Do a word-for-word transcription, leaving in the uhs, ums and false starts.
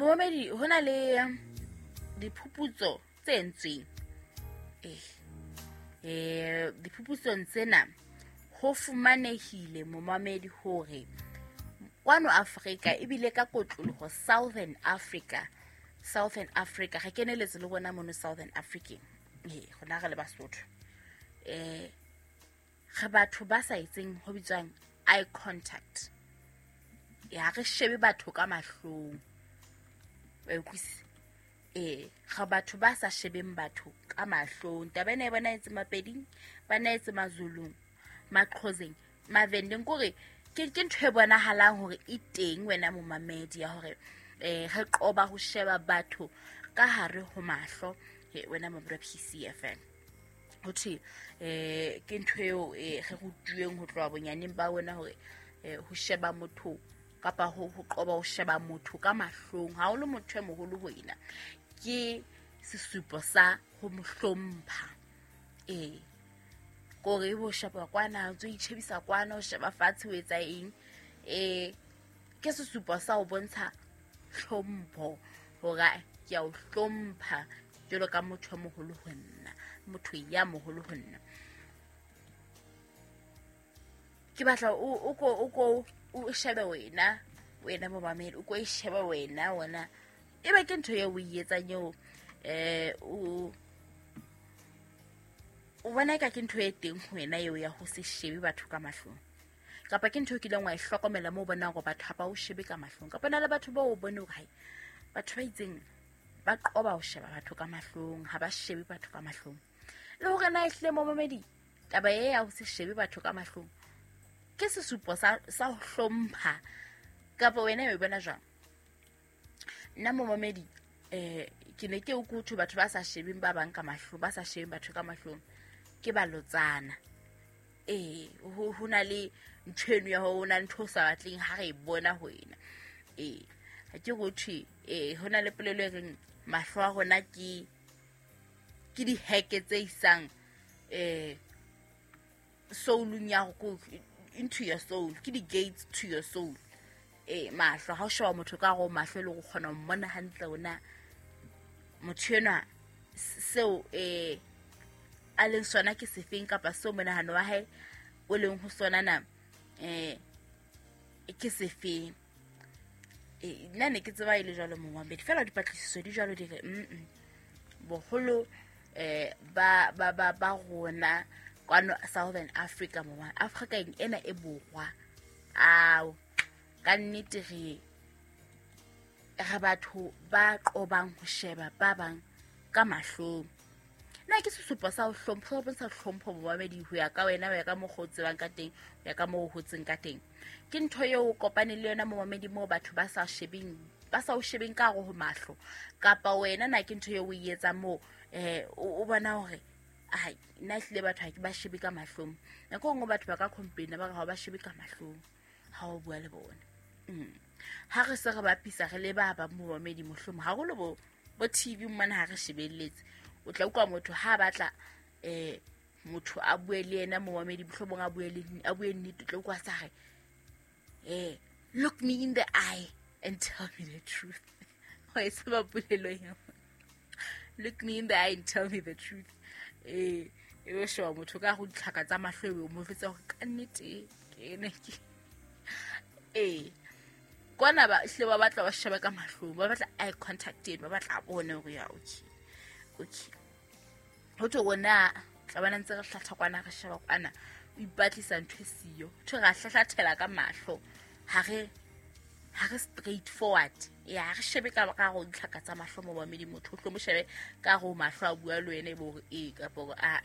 Momamedi, ho na le diphuputso tse entsweng. Eh eh diphuputsong tsena ho fumanehile momamedi hore kwano Afrika ebile ka kotloloho Southern Africa, Southern Africa re keneletse le rona mono Southern Africa. Eh rona re le Basotho. Eh re batho ba sa etseng ho bitswang eye contact. Ya re shebe batho ka mahlong. Wa utlwisisa? Eh re batho ba sa shebeng batho ka mahlong. Taba ena e bona etse Mapeding, ba na etse Mazulung, Maqhoseng, Mavendeng, kore ke ke ntho e bonahalang hore e teng wena momamedi ya hore eh re qoba ho sheba batho ka hare ho mahlo, wena momamedi wa P C F M. Ho thwe eh ke ntho eo eh re rutuweng ho tloha bonyaneng ba wena hore eh ho sheba motho kapa ho ho qoba ho sheba motho ka mahlong ha o le motho e moholo ho ena ke sesupo sa ho mo hlompha. Eh kore bo sheba kwana o itshebisa kwana o sheba fatshe o etsa eng, eh ke sesupo sa ho bontsha hlompho hore ke a o hlompha jwalo ka motho e moholo ho nna, motho ya moholo ho nna. Ke batla o o ko o ko o shebe wena, wena momamedi, o ko e shebe wena wona ebe ke ntho eo o e etsang eo eh o o bona ka ke ntho e teng ho wena eo ya ho se shebe batho ka mahlong, kapa ke ntho e kileng wa e hlokomela moo o bonang hore batho ha ba o shebe ka mahlong, kapa na le batho bao o bone hore hai batho ba itseng ba qoba ho sheba batho ka mahlong, ha ba shebe batho ka mahlong. Le hore na ehlile momamedi taba e ya ho se shebe batho ka mahlong ke sesupo sa sa ho hlompha, kapa wena o e bona jwang? Nna momamedi eh ke ne ke o kutho batho ba sa shebeng ba bang ka mahlong, ba sa shebeng batho ka mahlong ke balotsana. Eh ho ho na le ntho eno ya ho na ntho sa batleng ha re e bona ho wena. Eh ha ke go thwe eh ho na le polelo e reng mahlo a rona ke ke diheke tse isang eh soulung ya go into your soul, ke di gates to your soul. Eh mahlo ha o sheba motho ka go mahlo le go kgona ho mmona hantle ona motho enwa seo eh a leng sona ke sefeng kapa seo monahano wa hae o leng ho sona na eh ke sefeng. Eh nna ne ke tseba e le jwalo momamedi, fela dipatlisiso di jwalo di re mm boholo eh ba ba ba ba rona kwano Southern Africa moma Africa ena e borwa ao ka nnete re re batho ba qobang ho sheba ba bang ka mahlong. Na ke sesupo sa ho hlompha, ho bontsha hlompho momamedi ho ya ka wena, ho ya ka mokgwa o tsebang ka teng, ho ya ka moo o hotseng ka teng. Ke ntho eo o kopane le yona momamedi moo batho ba sa shebeng, ba sa o shebeng ka hare ho mahlo, kapa wena na ke ntho eo o e etsang moo eh o bona hore ai nna ehlile batho ha ke ba shebe ka mahlong. Nako nngwe batho ba ka complain ba re ha ba shebe ka mahlong ha o bua le bona. Mm. Ha re se re bapisa re le ba ba momamedi mohlomong haholo bo bo T V mona ha re shebelletse, o tla utlwa motho ha batla eh motho a bue le yena momamedi mohlomong a bue le a bue nnete, o tla utlwa sa re eh look me in the eye and tell me the truth. Ho e tseba polelo eo, look me in the eye and tell me the truth. Eh e be sheba motho ka go ditlhaka tsa mahlo eo mo fetsa hore ka nnete ke ne ke eh kwana ba hle ba batla ba sheba ka mahlong, ba batla eye contact eno, ba batla bone hore ya okay okay ho thwe rona tla bona ntse re hlatha kwana re sheba kwana o ipatlisa ntho e siyo, thwe ra hlahlathela ka mahlo ha re ha re straight forward. Ya re shebe ka ka go ditlhaka tsa mahlo mo momedi motho o tlo mo shebe ka go mahlo a bua le wena e bo hore ee kapa hore a